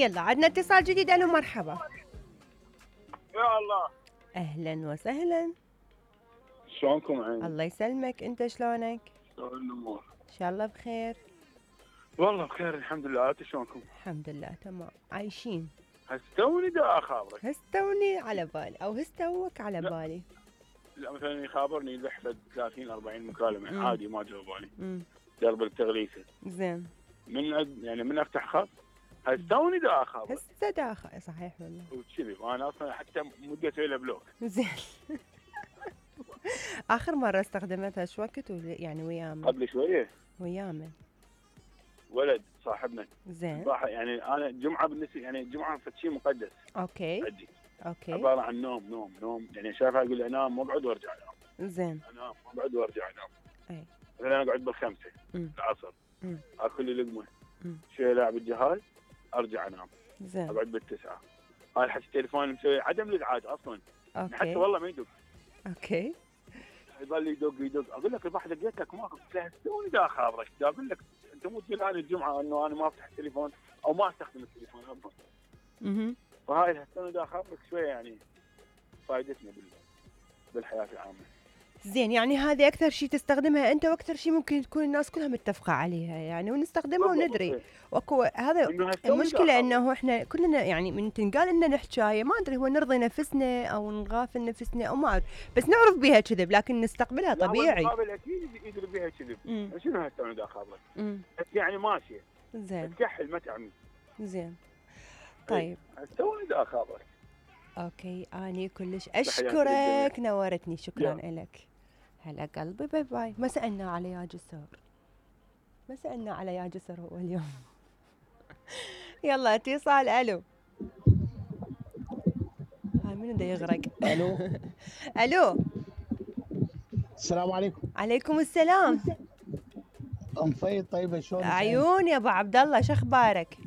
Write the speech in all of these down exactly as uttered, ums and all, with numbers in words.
يلا عندنا اتصال جديد. الو مرحبا. يا الله. اهلا وسهلا. شلونكم عيني؟ الله يسلمك، انت شلونك؟ شلون الامور؟ ان شاء الله بخير. والله بخير الحمد لله، انتم شلونكم؟ الحمد لله تمام عايشين. هسه توني دا اخابرك. هستوني على بالي او هستوك على لا. بالي. لا مثلا يخابرني بحفظ ثلاثين أربعين مكالمه مم. عادي ما جاوب علي. امم درب التغليفه زين. من أد... يعني من افتح خط هسه توني دا اخابرك هسه داخل صحيح والله. وكذي، وانا اصلا حتى مدة له بلوك. زين. اخر مره استخدمتها شو وقت يعني ويا قبل شويه ويا من؟ ولد صاحبنا زين. صراحه يعني انا الجمعه بالنسبه يعني الجمعه فشي مقدس اوكي عندي. اوكي عباره عن نوم نوم نوم يعني شايفها اقول انام واقعد وارجع انام زين. انام واقعد وارجع انام. اي مثلا انا اقعد بالخمسه أمم. العصر أمم. اكل لي لقمه أمم. شويه لاعب الجهاز ارجع انام زين. اقعد بالتسعه. هاي حتى التليفون مسوي عدم الازعاج اصلا حتى اوكي والله ما يدق. اوكي يظل يدق يدق اقول لك البارحه دقيت لك ما قلت له توني دا خابرك اقول لك انت مو تقول انا الجمعه انه انا ما افتح التليفون او ما استخدم التليفون اصلا. اها. فهاي التوني دا خابرك شويه يعني فائدتنا بال بالحياه العامه. زين يعني هذه اكثر شيء تستخدمها انت واكثر شيء ممكن تكون الناس كلها متفقه عليها يعني ونستخدمها وندري. واكو هذا المشكله انه احنا كلنا يعني من تنقال لنا نحكايه ما ادري هو نرضي نفسنا او نغافل نفسنا او ما اعرف بس نعرف بها كذب لكن نستقبلها طبيعي. المقابل اكيد يدري بها كذب. شنو هالتوني دا خابرك؟ امم يعني ماشيه زين تكحل ما تعمي. زين طيب توني دا خابرك. اوكي اني كلش اشكرك نورتني شكرا لك. هلا قلبي باي باي. ما سالنا على يا جسر ما سالنا على يا جسر هو اليوم. يلا اتصال. الو هاي منو دا يغرق؟ الو الو السلام عليكم. عليكم السلام. ام فايد طيبه شلونك؟ عيون يا ابو عبد الله شو اخبارك؟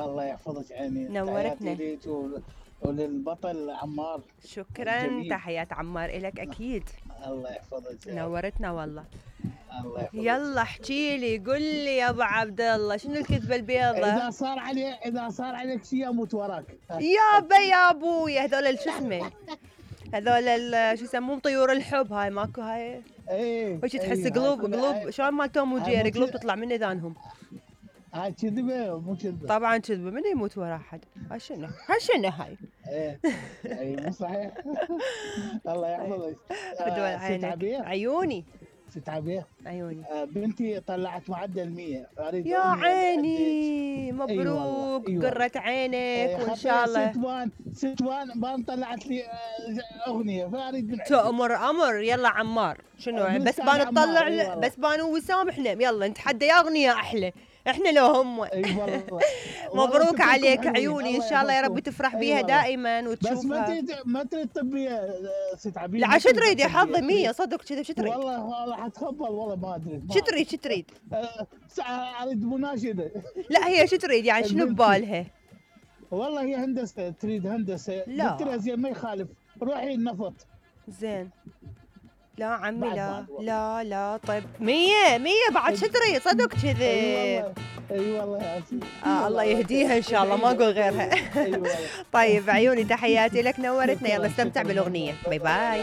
الله يحفظك عيني. نورتنا. تحياتي ليك وللبطل عمار. شكرا الجميل. تحيات عمار الك اكيد. الله يحفظك. نورتنا والله. الله يحفظك. يلا احكي لي قل لي يا ابو عبد الله شنو الكذبه البيضة؟ اذا صار علي اذا صار عليك شيء اموت وراك. يابا يا ابوي هذول شو اسمه هذول شو يسموهم طيور الحب هاي ماكو هاي. ايه وش تحس قلوب قلوب شلون مال توم وجيري قلوب تطلع من اذانهم. هاي كذبه مو كذبه؟ طبعا كذبه من يموت ورا احد. هاي شنو هاي شنو هاي؟ ايه اي مو صحيح. الله يحفظك. بدول عينك عيوني ست عبيه عيوني. آه بنتي طلعت معدل مية اريد يا عيني مبروك. أيوة قرة عينك أيه وان شاء الله. ستوان ستوان بان طلعت لي اغنيه فاريد بن تأمر امر. يلا عمار شنو بس بان تطلع أيوة بس بان وسام احنا يلا نتحدى يا اغنيه احلى احنا لو هم. اي والله. مبروك عليك عيوني ان شاء الله يا رب تفرح بيها دائما وتشوفها. بس ما تريد ما تريد طبيه ست عبيد. لا شو تريد يا حظي مية صدق كذا شو تريد؟ والله والله حتخبل والله ما ادري. شو تريد شو تريد؟ اريد مناشده. لا هي شو تريد يعني شنو ببالها؟ والله هي هندسه تريد هندسه. لا قلت لها زين ما يخالف روحي النفط. زين لا عمي لا لا لا طيب مية مية بعد شو تريد صدق كذي. اي والله اي والله يا سيدي. آه الله يهديها ان شاء الله ما اقول غيرها. طيب عيوني تحياتي لك نورتنا. يلا استمتع بالاغنيه. باي باي.